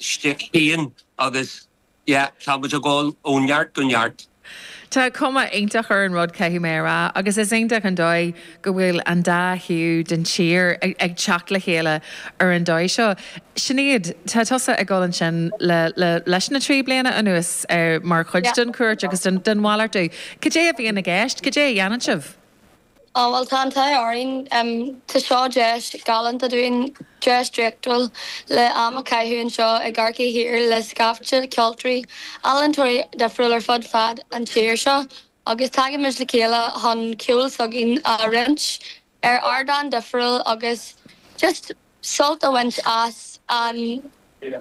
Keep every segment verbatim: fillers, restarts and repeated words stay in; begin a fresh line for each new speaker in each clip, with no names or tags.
shtick féin agus yeah, tá muid ag dul ó neart go neart.
Tá cuma iontach ar an rud caithfidh mé a rá, agus is iontach an dóigh go bhfuil an dá thaobh den tír ag, ag teacht le chéile ar an dóigh seo. Sinéad tá tusa ag dul ansin le, le, leis na trí bliana anuas ar mar chuid
Yeah.
den cuairt agus den, den mhalartú. Cad é a bhíonn i gceist, cad é a dhéanann sibh?
Á well tá an t-ádh orainn um, tá seo deis galánta dúinn deis draíochtúil le am a chaitheamh anseo i gCorcaigh Thiar le scaifte ceoltóirí ealaíontóirí difriúil ar fud fad an tír seo agus tagaimid le chéile chun ceol s'againn a roinnt ar ardán difriúil agus just sult a bhaint as an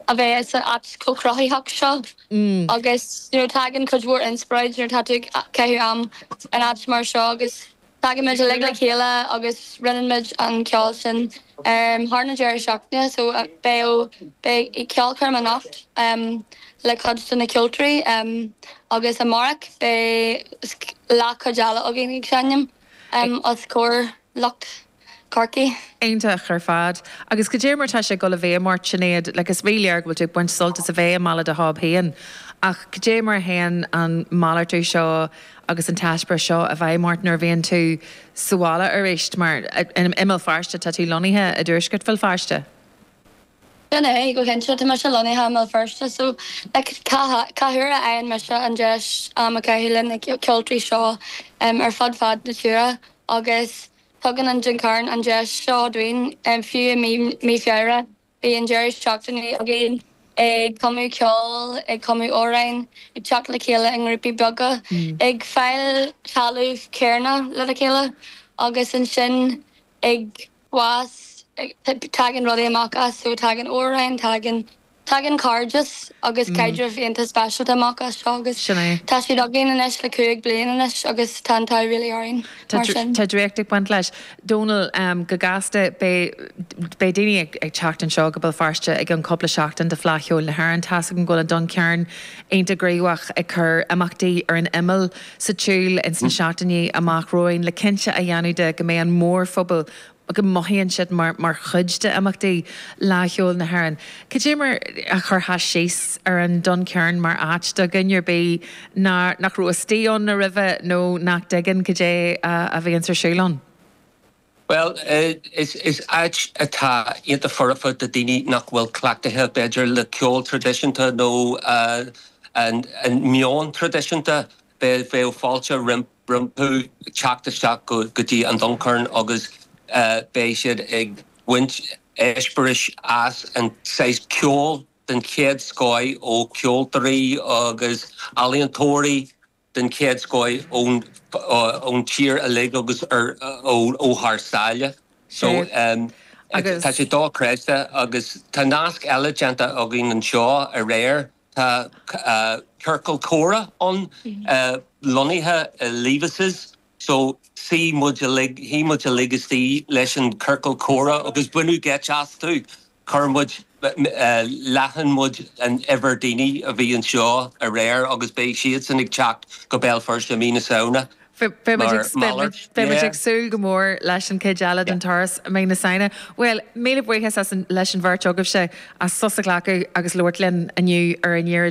a bheith san áit chomh cruthaitheach seo.
Mm.
agus you know, tagann cuid mhór inspioráid nuair atá tú ag caitheamh am in áit mar seo agus tagaimid uilig le chéile agus roinnimid an ceol sin um, thar na deireadh seachtaine so uh, beidh beidh ceolchoirm anocht um, le cuid de na ceoltóirí um, agus amárach beidh leathchuid eile againn ag seinm um, os comhair lucht Corcaí.
Iontach ar fad. Agus cad é mar tá sé go le bheith mar Sinéad le is ríléir go bhfuil tú ag baint sult as a bheith i mBaile do Háb féin. Ach cad é mar a théann an malartú seo agus an t-eispéireas seo a bheith mar nuair a bhíonn tú sa bhaile arís mar i mBéal Feirste tá tú lonnaithe i dtuaisceart Bhéal Feirste.
Sin é go cinnte tá mise lonnaithe i mBéal Feirste so cá huair a fhaigheann mise an deis am a chaitheamh le na ceoltóirí seo um, ar fud fad na tíre agus tugann an Duncairn an deis seo dúinn um, fiú i mí mí Feabhra bhí an deireadh seachtaine againn ag cumadh ceol ag cumadh amhráin ag teacht le chéile i ngrúpaí beaga ag fáil talamh céarna le chéile agus ansin ag fás tagann rudaí amach as so tagann amhráin tagann tagann cairdeas agus caidreamh iontach speisialta amach as seo agus
Sin é.
tá siad againn anois le cúig bliana anois agus tá an t-ádh really orainn
Tá
mar sin.
Tá draíocht ag baint leis. Dónal um, go gasta beidh daoine ag, ag teacht anseo go Béal Feirste ag an cúpla seachtain de Fleadh Cheoil na hÉireann Tá an go an Duncairn iontach gníomhach ag cur imeachtaí ar an imeall sa tsiúl ins na seachtainí amach romhainn le cinnte a dhéanamh de go mbeidh an mórphobal go mothaíonn siad mar mar chuid de imeachtaí Fhleadh Cheoil na hÉireann. Cad é mar a chuirfeá síos ar an Duncairn mar áit do dhuine ar bith nach nach raibh istigh ann roimhe nó nach dtuigeann cad é a bhíonn ar siúl ann.
Well uh, is is áit atá iontach foirfe do daoine nach bhfuil cleachtaithe b'fhéidir le ceol traidisiúnta nó uh, an, an meon traidisiúnta be bheith fáilte rompu teacht isteach go, go dtí an Duncairn agus uh, beidh siad ag baint eispéiris as an saghas ceol den chéad scoth ó ceoltóirí agus ealaíontóirí den chéad scoth ón ón tír uilig agus ar ó ó thar sáile. So um,
Agus-
tá sé dochreidte agus tá nasc eile déanta againn anseo aréir tá uh, ciorcal comhrá ann uh, lonnaithe uh, Levis's so shuigh muid uilig shuigh muid uilig istigh leis an ciorcal comhrá agus baineadh geit astu chuir muid uh, leathan muid an uimhir daoine a bhí anseo aréir agus beidh siad san ag teacht go Béal Feirste mí na Samhna.
Beidh
Mar malairt,
muid
yeah.
ag súil go mór leis an chéad eile den turas mí na Samhna. Well, míle buíochas as an, leis an bheirt agaibhse as sos a ghlacadh agus labhairt linn inniu ar Aniar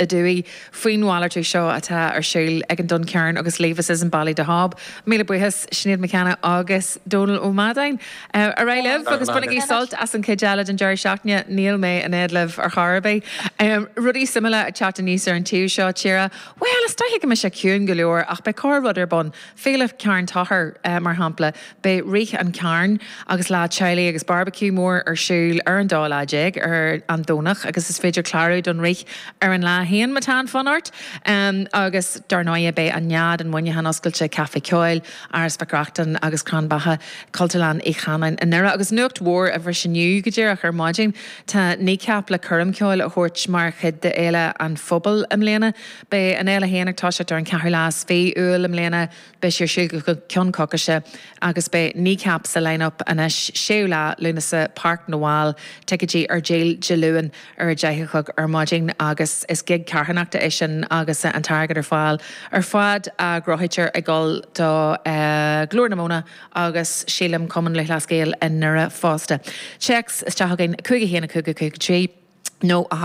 Aduaidh faoin mhalartú seo atá ar siúl ag an Duncairn agus Levis's i mBaile the Hob. Míle buíochas Sinéad McKenna agus Dónal Ó Madáin. Uh, ar aghaidh libh agus bainigí sult as an chéad eile den deireadh seachtaine níl mé in éad libh ar chor ar bith. Um, rudaí suimiúla ag teacht aníos ar an taobh seo tíre. Well, is dóiche go mbeidh sé ciúin go leor ach beidh corr rud ar bun. Féile Cearn Tochair uh, mar shampla, beidh Rith an Chairn agus lá teaghlaigh agus barbecue mór ar siúl ar an dá lá déag ar an Domhnach agus is féidir clárú don rith ar an lá féin má tá an fonn ort. Um, agus dar ndóigh beidh an Nead in Muineachán oscailte Caife Ceoil, Áras Mhic Reachtain agus Crann Beatha Cultúrlann Uí Chanáin i nDoire agus nuacht mhór a bhris inniu go díreach ar maidin Tá Kneecap le coirm ceoil a thabhairt mar chuid de Fhéile an Phobail i mbliana. Beidh an fhéile féin ag toiseacht ar an ceathrú lá is fiche Iúil i mbliana beidh sé ar siúl go ceann coicíse agus beidh Kneecap sa line-up anois séú lá Lúnasa Páirc na bhFál ticéidí ar díol Dé Luain ar a deich a chlog ar maidin agus is gig carthanachta é sin agus an t-airgead ar fáil ar fad a ghnóthaítear ag dul do uh, Glór na Móna agus sílim Cumann Lúthchleas Gael i nDoire fosta. Téacs isteach againn cúig a haon cúig cúig trí nó a